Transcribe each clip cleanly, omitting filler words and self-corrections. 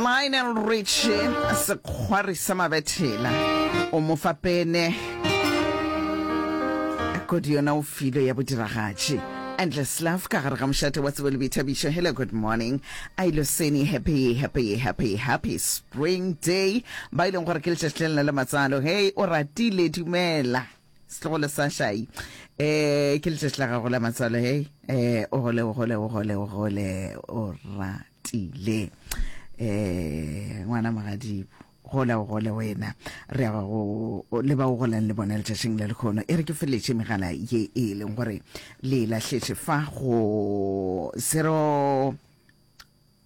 Lionel Richie, sekgwari sa mabethela, o mo fa pene. Kodi yona o filwe ya bodiragatši. Endless Love ka gare ga mošate wa tsebo le boithabišo. Hello, good morning. Ailoseni, happy, happy, happy, happy spring day. Ba e leng gore ke letšatši le lena la matsalo. Hey, o ratile, dumela. Setlogolo sa Shai. Eh, ke letšatši la gago la matswalo, hey. Eh, o gole, o gole, o gole, o gole, o ratile. Eh, ngwana mogadibo. Gola o gole wena. Re ya go le ba o golang le bona letšatšing la lekgono. E re ke feletše megala ye e leng gore le lahletše fa go 0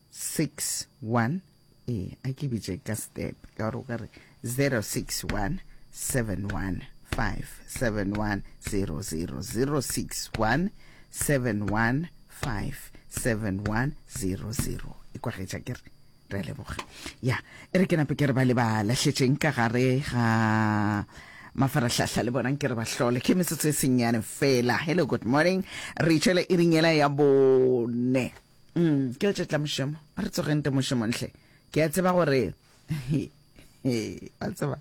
6 1 ee a ke bitše ka step ka gore o ka re 0 6 1 7 1 5 7 1 0 0 0 6 1 7 1 5 7 1 0 0 e kwagetša ke re re a leboga ya e re ke nape ke re ba le ba lahletšeng ka gare ga mafarahlahla le bonang ke re ba hlole ke metsotso e sennyane fela hello good morning re itšwele e ringela ya bone Mm, ke letšatši la mošomo. A re tsogeng te mošomong hle. Ke a tseba gore wa tseba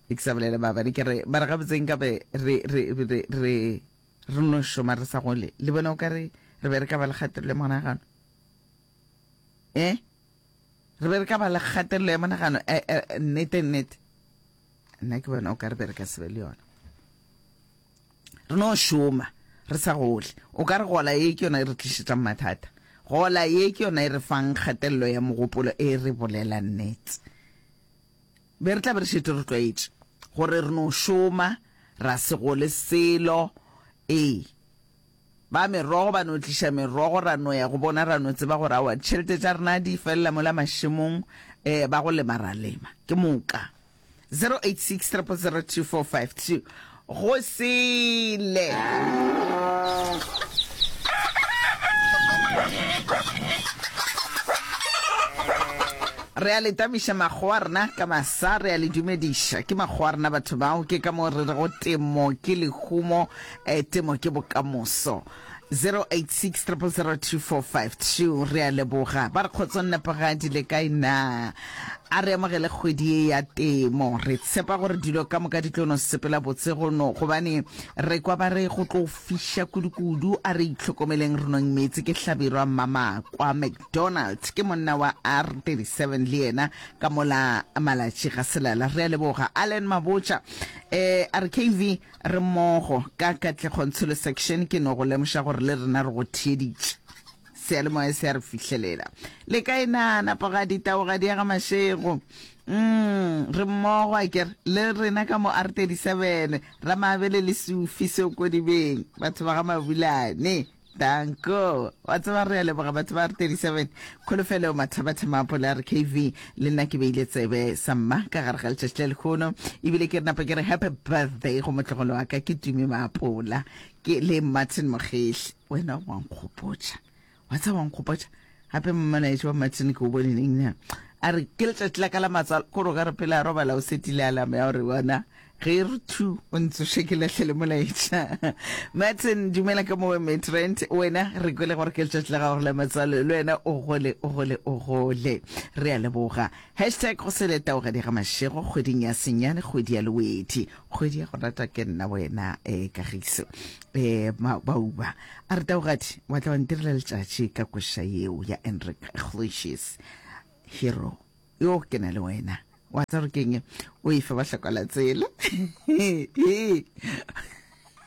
ke sa bolele maabane ke re mara gabotse nkabe re re re re re no šoma re sa gole le bona o ka re re be re ka ba le kgatelelo ya monagano eh re be re ka ba le kgatelelo ya monagano eh, eh, nnete nnete nna ke bona o ka re be re ka se be le yona Re no šoma re sa gole. O ka re gola ye ke yona e re tlišetšang mathata. Gola ye ke yona e re fang kgatelelo ya mogopolo e re bolela nnete. Be re tla be re šetše re tlwaetše gore re no šoma ra se gole selo. Ee, ba merogo ba no tliša merogo ra no ya go bona ra no tseba gore aowa ditšhelete tša rena di felela mola mašemong, um ba go lema ra lema. Ke moka. 086 000 2452 go sele. Re a le tamiša makgowa rena ka masa, re a le dumediša. Ke makgowa rena batho bao, ke ka moo re rego temo ke lehumo, eh, temo ke bokamoso. 086 000 2452 Re a leboga. Ba re kgotsong Nepogadi le kae na? A re amogele kgwedi ye ya temo. Re tshepa gore dilo ka moka di tlo no sepela botse go no gobane re kwa ba re go tlo fiša kudu-kudu. A re itlhokomeleng re nweng meetse. Ke Hlabirwa Mmamakwa McDonald ke monna wa R37 le yena ka mola Malatši ga Selala. Re a leboga. Allen Mabotja eh a re KV Re mmogo ka Katlego Ntsholo Section ke no go lemoša gore le rena re go theeditše. Seyalemoya se a re fihlelela. Le kae na, Napogadi, Taogadi ya ga Mashego? Mm, re mmogo akere, le rena ka mo R37, Ramabele le Sufi Seokodibeng, batho ba ga Mabulane. Danko. Wa tseba re a leboga batho ba R37. Kholofelo Mathabatha Maapole a re KV le nna ke beile tsebe sa mma ka gare ga letšatši la lehono ebile ke re napa ke re happy birthday go motlogolo wa ka ke Tumi Maapola ke le Martin Mogehli. Wena wa nkgopotša. Wa tseba wa nkgopotša. Gape molaetša wa Martin ke o bone neng na? A re ke letšatši la ka la matswalo, kore o ka re pele a robala o setile alarm ya gore bona ge e re thu o ntsoše ke lahlele molaetša. Martin, dumela ka mowe Midrand, wena re kwele gore ke letšatši la gago la matswalo, le wena o gole o gole o gole. Re a leboga. Hashtag go sele taogadi ga mašego kgweding ya senyane kgwedi ya lewedi kgwedi ya go rata ke nna wena eh, kagiso eh, bauba A re, Taugadi, wa tla wa ntirela letšatši ka koša yeo ya Enrique Iglesias, Hero. Yo, ke na le wena. Wa tseba gore ke'ng? O e fa bahlokalatsela.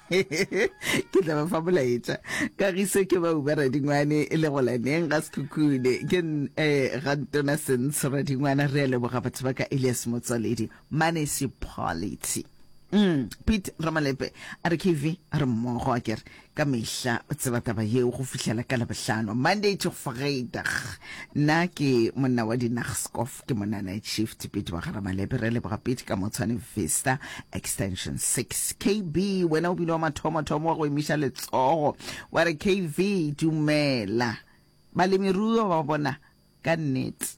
Ke tla ba fa molaetša. Kagiso ke Bauba Radingwane e le golaneng ga Sekhukhune. Ke eh, ga Ntona Sentsho Radingwana. Re a leboga batho ba ka Elias Motswaledi, Municipality. Mm, Pete Ramalepe a re KV a re mmogo a kere ka mehla o tseba taba yeo go fihlela ka Labohlano, Monday to Friday. Nna ke monna wa dinagskof, ke monna night shift Pete wa ga Ramalepe. Re leboga Pete ka mo Tshwane Vista Extension 6. KB wena o bile wa mathomo-thomo wa go emiša letsogo wa re KV dumela balemiruo ba bona ka nnete.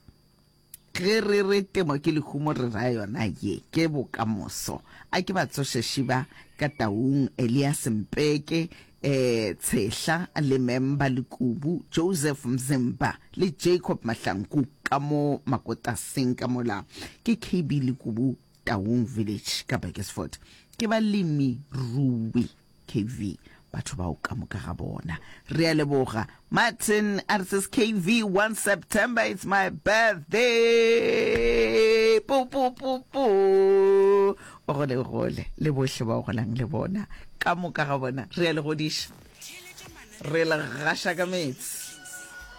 Ge re re temo ke lehumo re ra yona ye ke bokamoso. A ke ba tsoše Shiba ka Taung, Elias Mpeke. eh Tshehla le Memba Lekubu, Joseph Mzimba le Jacob Mahlangu ka mo Makotaseng ka mola ke KB Lekubu Taung Village ka Burgersfort. Ke balemi rui KV batho bao ka moka ga bona. Re a leboga. Martin a re says KV 1 September it's my birthday. Pu pu pu pu. O gole gole le bohle ba o golang le bona. Ka moka ga bona re a le godiša. Re le gaša ka meetse.